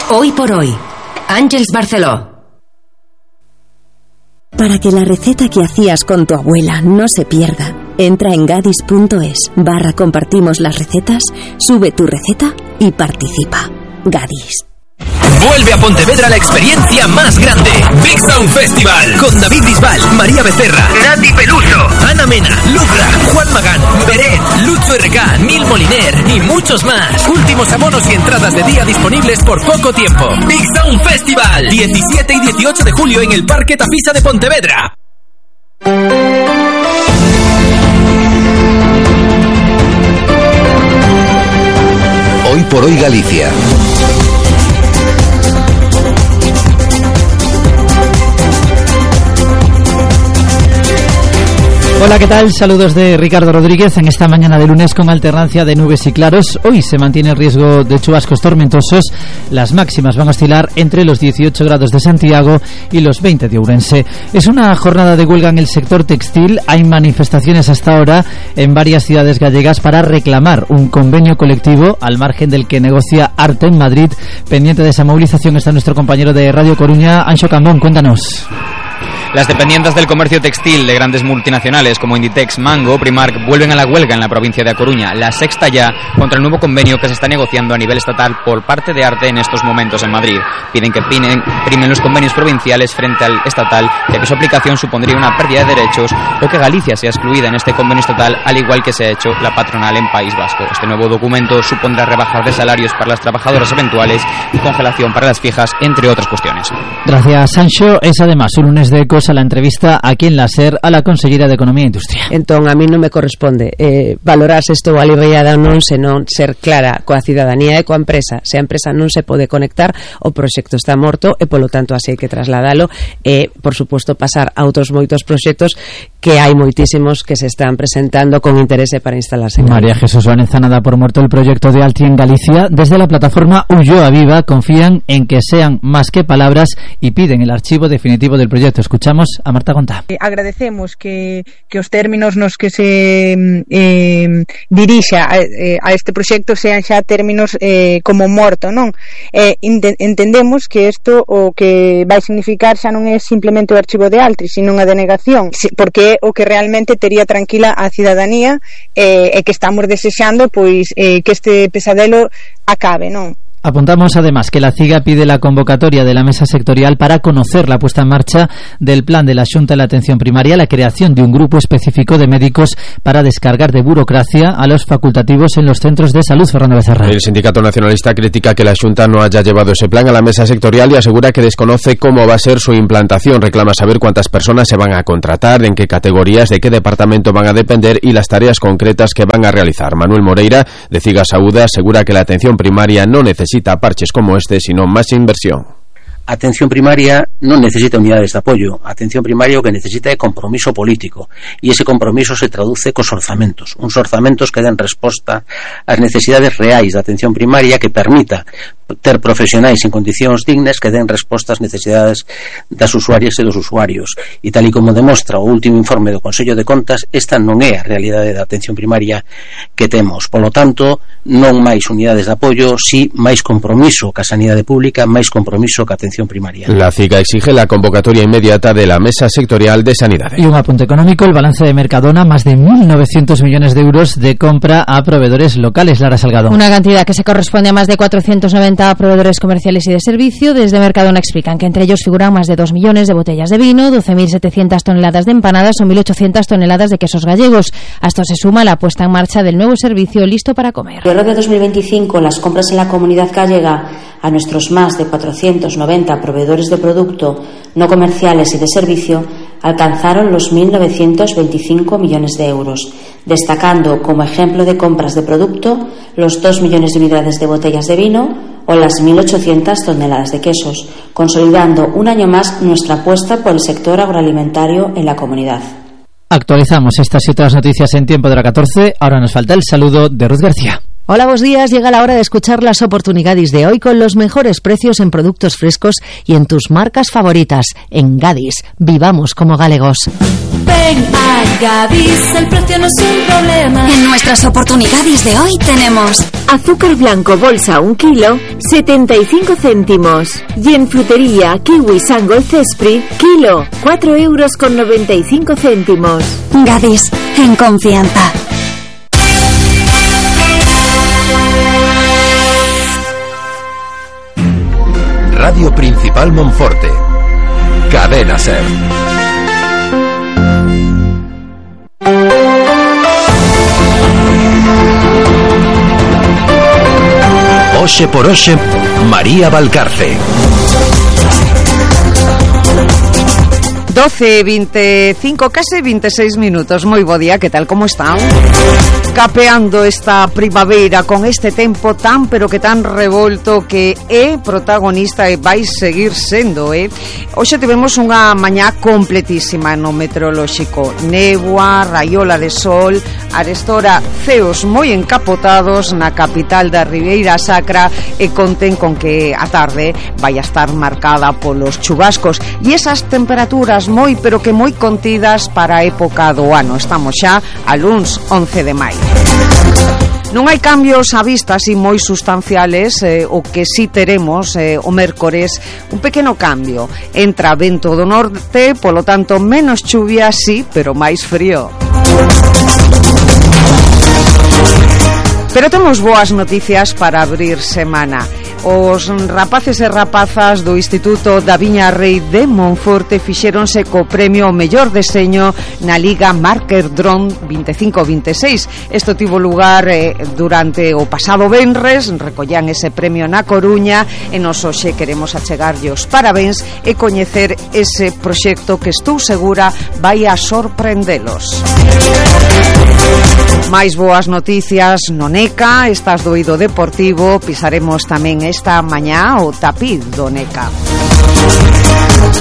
Hoy por hoy, Àngels Barceló. Para que la receta que hacías con tu abuela no se pierda, entra en gadis.es/compartimos las recetas, sube tu receta y participa. Gadis. Vuelve a Pontevedra la experiencia más grande. Big Sound Festival. Con David Bisbal, María Becerra, Nati Peluso, Ana Mena, Lucra, Juan Magán, Beret, Lucho RK, Nil Moliner y muchos más. Últimos abonos y entradas de día disponibles por poco tiempo. Big Sound Festival. 17 y 18 de julio en el Parque Tafisa de Pontevedra. Hoy por hoy Galicia. Hola, ¿qué tal? Saludos de Ricardo Rodríguez en esta mañana de lunes con alternancia de nubes y claros. Hoy se mantiene el riesgo de chubascos tormentosos. Las máximas van a oscilar entre los 18 grados de Santiago y los 20 de Ourense. Es una jornada de huelga en el sector textil. Hay manifestaciones hasta ahora en varias ciudades gallegas para reclamar un convenio colectivo al margen del que negocia Arte en Madrid. Pendiente de esa movilización está nuestro compañero de Radio Coruña, Anxo Cambón. Cuéntanos. Las dependientes del comercio textil de grandes multinacionales como Inditex, Mango, Primark vuelven a la huelga en la provincia de A Coruña, la sexta ya, contra el nuevo convenio que se está negociando a nivel estatal por parte de Arte en estos momentos en Madrid. Piden que primen los convenios provinciales frente al estatal, ya que su aplicación supondría una pérdida de derechos o que Galicia sea excluida en este convenio estatal, al igual que se ha hecho la patronal en País Vasco. Este nuevo documento supondrá rebajas de salarios para las trabajadoras eventuales y congelación para las fijas, entre otras cuestiones. Gracias, Sancho. Es además un lunes de Ecos a la entrevista aquí en la SER a la consellera de Economía e Industria. Entón, a mí non me corresponde valorar se estou aliviada ou non, senón ser clara coa cidadanía e coa empresa. Se a empresa non se pode conectar, o proxecto está morto e, polo tanto, así hai que trasladalo e, por suposto, pasar a outros moitos proxectos que hai moitísimos que se están presentando con interese para instalarse en María Jesús Vaneza nada por muerto el proyecto de Altri en Galicia. Desde la plataforma Ulloa Viva confían en que sean más que palabras y piden el archivo definitivo del proyecto. Escuchamos a Marta Gontá. Agradecemos que os términos nos que se dirixa a este proxecto sean xa términos como morto, non? Entendemos que isto o que vai significar xa non é simplemente o archivo de Altri, sino unha denegación, porque é o que realmente tería tranquila a cidadanía e que estamos desexando pois que este pesadelo acabe, non? Apuntamos además que la CIGA pide la convocatoria de la mesa sectorial para conocer la puesta en marcha del plan de la Xunta de la Atención Primaria, la creación de un grupo específico de médicos para descargar de burocracia a los facultativos en los centros de salud. Fernando Becerra. El Sindicato Nacionalista critica que la Xunta no haya llevado ese plan a la mesa sectorial y asegura que desconoce cómo va a ser su implantación. Reclama saber cuántas personas se van a contratar, en qué categorías, de qué departamento van a depender y las tareas concretas que van a realizar. Manuel Moreira, de CIGA Saúda, asegura que la atención primaria no necesita parches como este, sino más inversión. Atención primaria non necesita unidades de apoio. A atención primaria o que necesita é compromiso político, e ese compromiso se traduce cos orzamentos, uns orzamentos que den resposta ás necesidades reais da atención primaria, que permita ter profesionais en condicións dignas que den resposta ás necesidades das usuarias e dos usuarios. E tal e como demostra o último informe do Consello de Contas, esta non é a realidade da atención primaria que temos. Polo tanto, non máis unidades de apoio, si máis compromiso ca sanidade pública, máis compromiso ca atención primaria. La CIGA exige la convocatoria inmediata de la Mesa Sectorial de Sanidad. Y un apunte económico, el balance de Mercadona, más de 1.900 millones de euros de compra a proveedores locales. Lara Salgado. Una cantidad que se corresponde a más de 490 proveedores comerciales y de servicio. Desde Mercadona explican que entre ellos figuran más de 2 millones de botellas de vino, 12.700 toneladas de empanadas o 1.800 toneladas de quesos gallegos. A esto se suma la puesta en marcha del nuevo servicio Listo para Comer. En el de 2025, las compras en la comunidad gallega a nuestros más de 490 proveedores de producto no comerciales y de servicio alcanzaron los 1.925 millones de euros, destacando como ejemplo de compras de producto los 2 millones de unidades de botellas de vino o las 1.800 toneladas de quesos, consolidando un año más nuestra apuesta por el sector agroalimentario en la comunidad. Actualizamos estas y otras noticias en tiempo de la 14. Ahora nos falta el saludo de Ruth García. Hola, buenos días. Llega la hora de escuchar las oportunidades de hoy con los mejores precios en productos frescos y en tus marcas favoritas. En Gadis, vivamos como galegos. Ven a Gadis, el precio no es un problema. En nuestras oportunidades de hoy tenemos azúcar blanco bolsa 1 kilo, 75 céntimos. Y en frutería, kiwi Sangol Cespri, kilo, 4,95 €. Gadis, en confianza. Radio Principal Monforte. Cadena Ser. Oxe por Oxe, María Valcarce. 12:25, casi 26 minutos. Moi bo día, que tal, como están? Capeando esta primavera con este tempo tan, pero que tan revolto que é protagonista e vai seguir sendo, Hoxe tivemos unha mañá completísima no meteorolóxico. Néboa, raiola de sol, arestora ceos moi encapotados na capital da Ribeira Sacra e conten con que a tarde vai a estar marcada polos chubascos e esas temperaturas moi, pero que moi contidas para a época do ano. Estamos xa a luns 11 de maio. Non hai cambios á vista así moi sustanciales, o que sí teremos o mércores un pequeno cambio. Entra vento do norte, polo tanto menos chuvia, sí, pero máis frío. Pero temos boas noticias para abrir semana. Os rapaces e rapazas do Instituto da Viña Rei de Monforte fixéronse co premio ao mellor deseño na Liga Marker Drone 25-26. Isto tivo lugar durante o pasado venres, recollían ese premio na Coruña e nos hoxe queremos achegarlle os parabéns e coñecer ese proxecto que estou segura vai a sorprendelos. máis boas noticias no NECA, estas do eido deportivo, pisaremos tamén esta mañá o tapiz do NECA.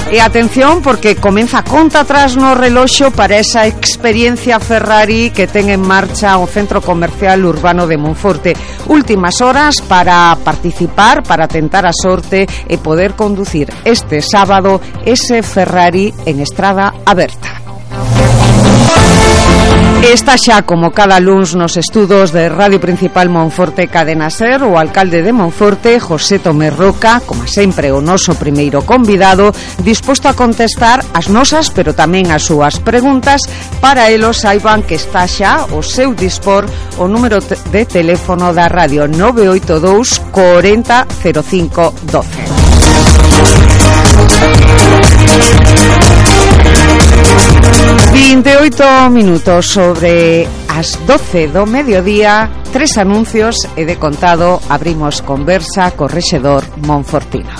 E atención, porque comeza a conta atrás no reloxo para esa experiencia Ferrari que ten en marcha o Centro Comercial Urbano de Monforte. Últimas horas para participar, para tentar a sorte e poder conducir este sábado ese Ferrari en estrada aberta. Está xa como cada luns nos estudos de Radio Principal Monforte Cadena Ser o alcalde de Monforte, José Tomé Roca, como sempre o noso primeiro convidado, disposto a contestar as nosas, pero tamén as súas preguntas. Para elos saiban que está xa o seu dispor o número de teléfono da radio 982 40 05 12. 28 minutos sobre as 12 do mediodía, 3 anuncios e de contado abrimos conversa co rexedor monfortino.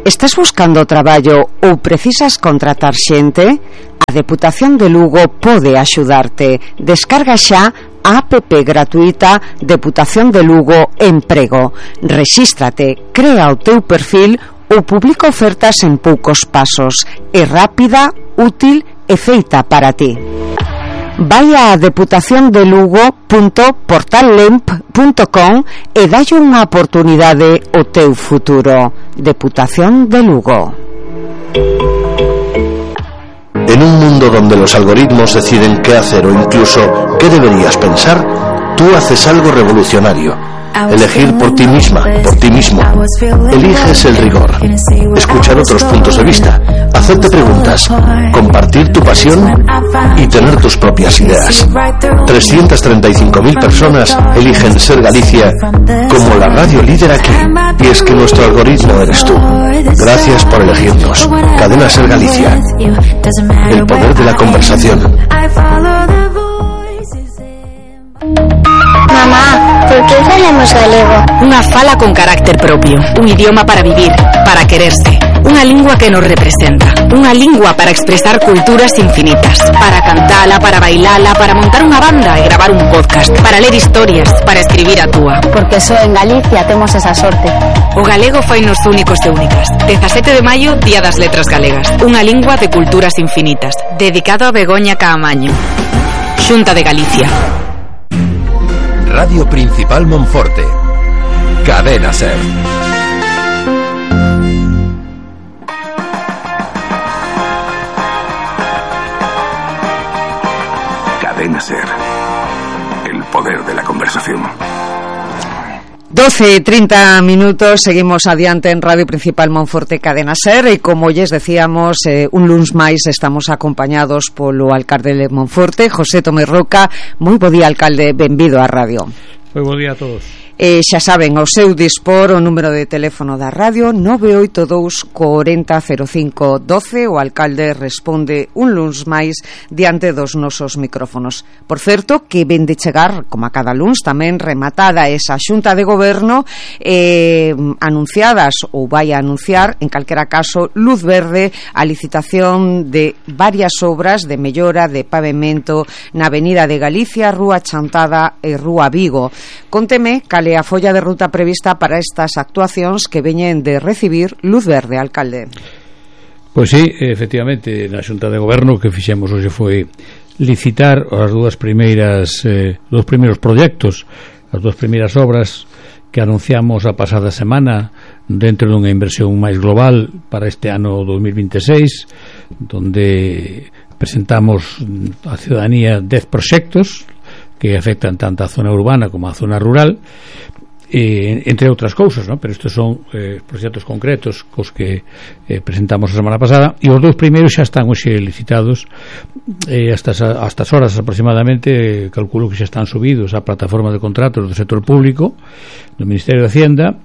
Estás buscando traballo ou precisas contratar xente? A Deputación de Lugo pode axudarte. Descarga xa a app gratuita Deputación de Lugo Emprego. Rexístrate, crea o teu perfil ou publica ofertas en poucos pasos. É rápida, útil e feita para ti. Vai a deputaciondelugo.portallemp.com e dalle unha oportunidade ao teu futuro. Deputación de Lugo. En un mundo donde los algoritmos deciden qué hacer o incluso qué deberías pensar, tú haces algo revolucionario. Elegir por ti misma, por ti mismo. Eliges el rigor. Escuchar otros puntos de vista. Hacerte preguntas. Compartir tu pasión y tener tus propias ideas. 335.000 personas eligen Ser Galicia como la radio líder aquí. Y es que nuestro algoritmo eres tú. Gracias por elegirnos. Cadena Ser Galicia. El poder de la conversación. Mamá, ¿por qué falamos galego? Unha fala con carácter propio, un idioma para vivir, para quererse. Unha lingua que nos representa. Unha lingua para expresar culturas infinitas. Para cantala, para bailala, para montar unha banda e gravar un podcast. Para ler historias, para escribir a túa. Porque só en Galicia temos esa sorte. O galego fainos únicos e únicas. 17 de maio, Día das Letras Galegas. Unha lingua de culturas infinitas. Dedicado a Begoña Caamaño. Xunta de Galicia. Radio Principal Monforte. Cadena SER. Cadena SER. El poder de la conversación. 12:30 minutos, seguimos adiante en Radio Principal Monforte Cadena SER e como lles decíamos, un luns máis estamos acompañados polo alcalde de Monforte, José Tomé Roca. Moi bo día, alcalde, benvido á radio. Moi bo día a todos. Xa saben, ao seu dispor o número de teléfono da radio 982 40 05 12. O alcalde responde un luns máis diante dos nosos micrófonos. Por certo, que ven de chegar, como a cada luns, tamén rematada esa xunta de goberno, anunciadas ou vai a anunciar, en calquera caso, luz verde a licitación de varias obras de mellora de pavimento na Avenida de Galicia, Rúa Chantada e Rúa Vigo. Conteme cal a folla de ruta prevista para estas actuacións que veñen de recibir luz verde, alcalde. Pois sí, efectivamente, na Xunta de Goberno que fixemos hoxe foi licitar as dos primeiros proxectos, as dúas primeiras obras que anunciamos a pasada semana dentro dunha inversión máis global para este ano 2026, donde presentamos á ciudadanía 10 proxectos que afectan tanto a zona urbana como a zona rural, entre outras cousas, ¿no? Pero estes son proxectos concretos cos que presentamos a semana pasada, e os dous primeiros xa están hoxe licitados, hasta estas horas aproximadamente, calculo que xa están subidos á plataforma de contratos do sector público do Ministerio de Hacienda,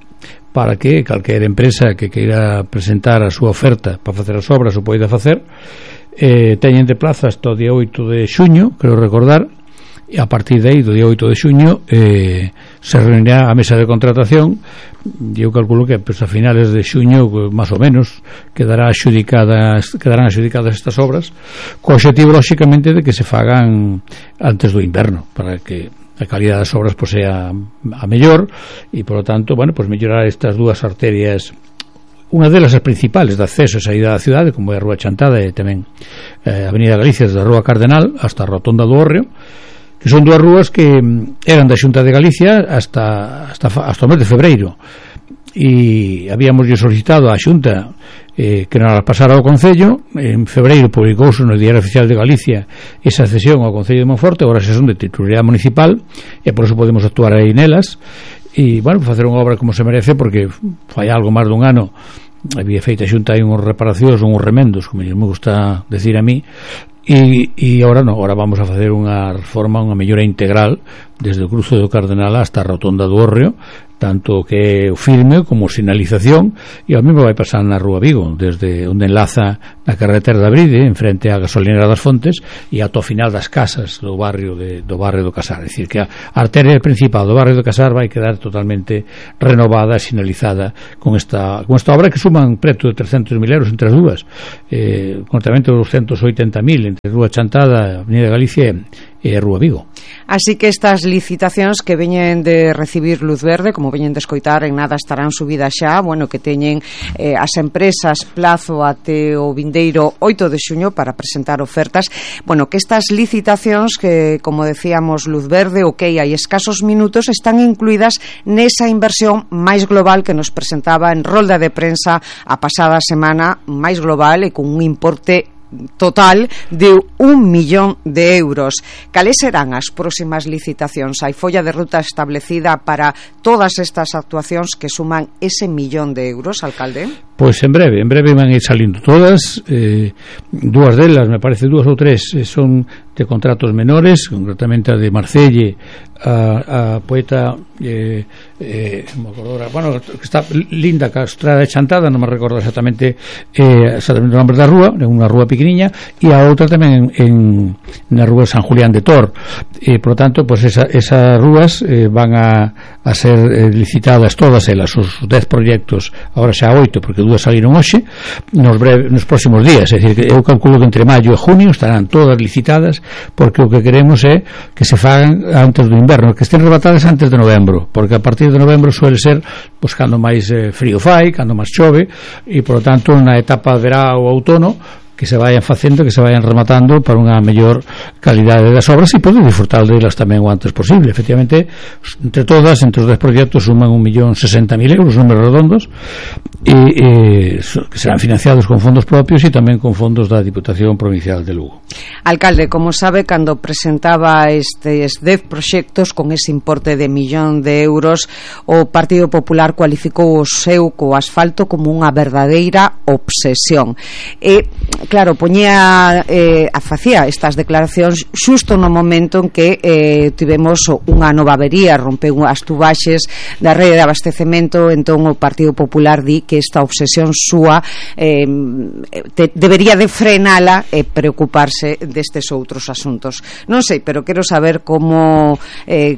para que calquera empresa que queira presentar a súa oferta para facer as obras o poida facer, teñen de plazo hasta o día 8 de xuño, creo recordar, e a partir de aí, do día 8 de xuño, se reunirá a mesa de contratación, e eu calculo que pues, a finales de xuño, máis ou menos, quedarán adxudicadas estas obras, co objetivo, lóxicamente, de que se fagan antes do inverno, para que a calidad das obras pues, sea a mellor, e, por lo tanto, bueno, pues mellorar estas dúas arterias, unha delas as principales de acceso a saída da cidade, como é a Rúa Chantada e tamén a Avenida Galicia, desde a Rúa Cardenal hasta a Rotonda do Hórreo, que son dúas rúas que eran da Xunta de Galicia hasta o mes de febreiro, e habíamos solicitado á Xunta que nos las pasara ao Concello. En febreiro publicouse no Diario Oficial de Galicia esa cesión ao Concello de Monforte. Agora xa son de titularidade municipal e por eso podemos actuar aí nelas, e bueno, facer unha obra como se merece, porque fai algo máis dun ano había feita a Xunta aí unhas reparacións, unhos remendos, como me gusta decir a mí, e agora non, agora vamos a facer unha reforma, unha mellora integral desde o cruce do Cardenal hasta a Rotonda do Hórreo, tanto que o firme como sinalización, e ao mesmo vai pasar na Rúa Vigo, desde onde enlaza na carretera de Abride, en frente á gasolinera das Fontes, e ata o final das casas do barrio do Casar. É dicir, que a arteria principal do barrio do Casar vai quedar totalmente renovada e sinalizada con esta obra, que suman preto de 300.000 euros entre as dúas, concretamente 280.000 entre Rúa Chantada, Avenida Galicia e a Rúa Vigo. Así que estas licitacións que veñen de recibir luz verde, como veñen de escoitar, en nada estarán subidas xa, bueno, que teñen as empresas plazo até o vindeiro 8 de xuño para presentar ofertas. Bueno, que estas licitacións que, como decíamos, luz verde, hai escasos minutos, están incluídas nesa inversión máis global que nos presentaba en rolda de prensa a pasada semana, máis global e con un importe total de 1 millón de euros. Cales serán as próximas licitacións? Hai folla de ruta establecida para todas estas actuacións que suman ese 1 millón de euros, alcalde? Pois en breve van a ir salindo todas. Dúas delas, me parece, 2 ou 3 son de contratos menores, concretamente a de Marcelle, a poeta bueno, que está Linda Castrada de Chantada, non me recordo exactamente o nombre da rúa, unha rúa pequeniña, e a outra tamén na rúa San Julián de Tor, e por lo tanto pues esas rúas van a ser licitadas todas elas, os 10 proxectos, agora xa 8, porque dúas saíron hoxe, nos próximos días, é dicir, que eu calculo que entre maio e junio estarán todas licitadas, porque o que queremos é que se fagan antes do inverno, que estén rebatadas antes de novembro, porque a partir de novembro suele ser pois cando máis frío fai, cando máis chove, e por lo tanto na etapa de verá ou outono que se vayan facendo, que se vayan rematando para unha mellor calidade das obras e poder disfrutar delas tamén o antes posible. Efectivamente, entre todas, entre os 10 proxectos suman 1.060.000 euros, números redondos, que serán financiados con fondos propios e tamén con fondos da Diputación Provincial de Lugo. Alcalde, como sabe, cando presentaba estes 10 proxectos con ese importe de 1.000.000 de euros, o Partido Popular cualificou o seu co asfalto como unha verdadeira obsesión. Claro, facía estas declaracións xusto no momento en que tivemos unha nova avería, rompeu as tubaxes da rede de abastecemento. Entón o Partido Popular di que esta obsesión súa debería de frenala e preocuparse destes outros asuntos. Non sei, pero quero saber como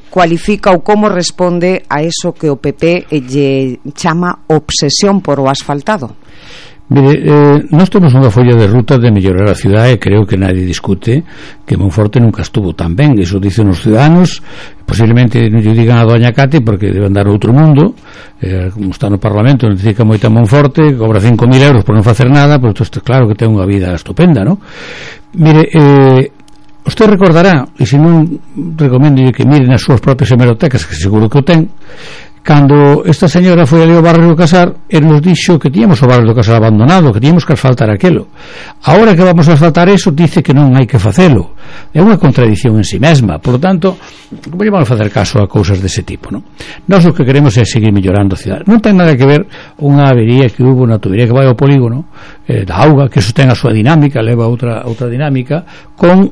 cualifica ou como responde a eso que o PP lle chama obsesión por o asfaltado. Mire, nós temos unha folla de ruta de mellorar a cidade e creo que nadie discute que Monforte nunca estuvo tan ben. Iso dicen os ciudadanos, posiblemente non lle digan a doña Cate porque debe andar a outro mundo, como está no Parlamento, necesita moita Monforte, cobra 5.000 euros por non facer nada, pero isto claro que ten unha vida estupenda, non? Mire, usted recordará, e se non recomendo que miren as súas propias hemerotecas, que seguro que o ten, cando esta señora foi ali ao barrio do Casar e nos dixo que tíamos o barrio do Casar abandonado, que tíamos que asfaltar aquelo. Ahora que vamos a asfaltar eso, dice que non hai que facelo. É unha contradición en si mesma. Por lo tanto, como vamos a facer caso a cousas dese tipo, non? Nós o que queremos é seguir mellorando a cidade. Non ten nada que ver unha avería que hubo na tubería que vai ao polígono da auga, que eso ten a súa dinámica, leva outra dinámica, con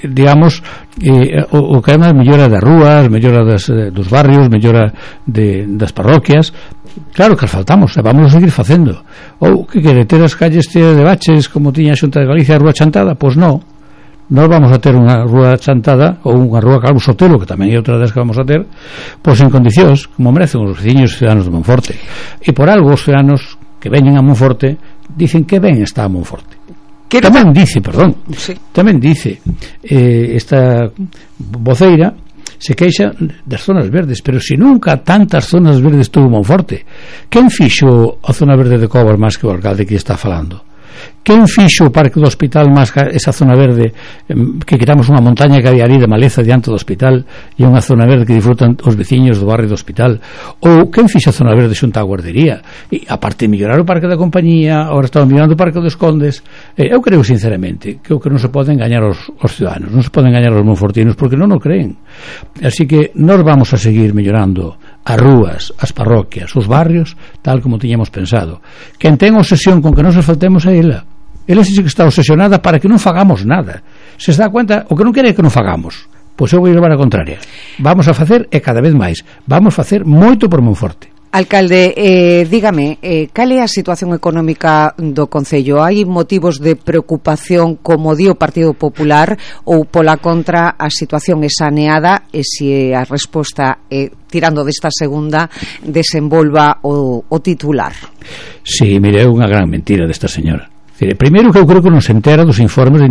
digamos o que é a mellora das rúas, mellora dos barrios, mellora das parroquias. Claro que asfaltamos, e vamos a seguir facendo. Ou que quere ter as calles de baches como tiña a Xunta de Galicia, a rúa chantada? Pois non. Nós vamos a ter unha rúa chantada ou unha rúa Calvo Sotelo, que tamén é outra das que vamos a ter, pois en condicións como merecen os veciños e ciudadanos de Monforte. E por algo os ciudadanos que veñen a Monforte dicen que ben está a Monforte. Tamén dice esta voceira, se queixa das zonas verdes, pero se nunca tantas zonas verdes tuvo Monforte. Quen fixo a zona verde de Covas máis que o alcalde que está falando? Quen fixo o parque do hospital máis que esa zona verde, que quitamos unha montaña que había ali de maleza diante do hospital e unha zona verde que disfrutan os veciños do barrio do hospital? Ou quen fixo a zona verde xunta á guardería? E aparte de mellorar o parque da compañía, agora estamos mellorando o parque dos Condes. Eu creo sinceramente que o que non se pode engañar os ciudadanos, non se pode engañar os monfortinos, porque non o creen. Así que nós vamos a seguir mellorando as rúas, as parroquias, os barrios, tal como tiñamos pensado. Quen ten obsesión con que non se faltemos a ela sí que está obsesionada para que non fagamos nada. Se dá cuenta, o que non quere é que non fagamos. Pois eu vou levar a contraria. Vamos a facer, e cada vez máis, vamos a facer moito por Monforte. Alcalde, dígame, cal é a situación económica do Concello? Hai motivos de preocupación como di o Partido Popular, ou pola contra a situación é saneada e se a resposta é, tirando desta segunda, desenvolva o titular? Sí, mire, é unha gran mentira desta señora. Primeiro que eu creo que non se entera dos informes de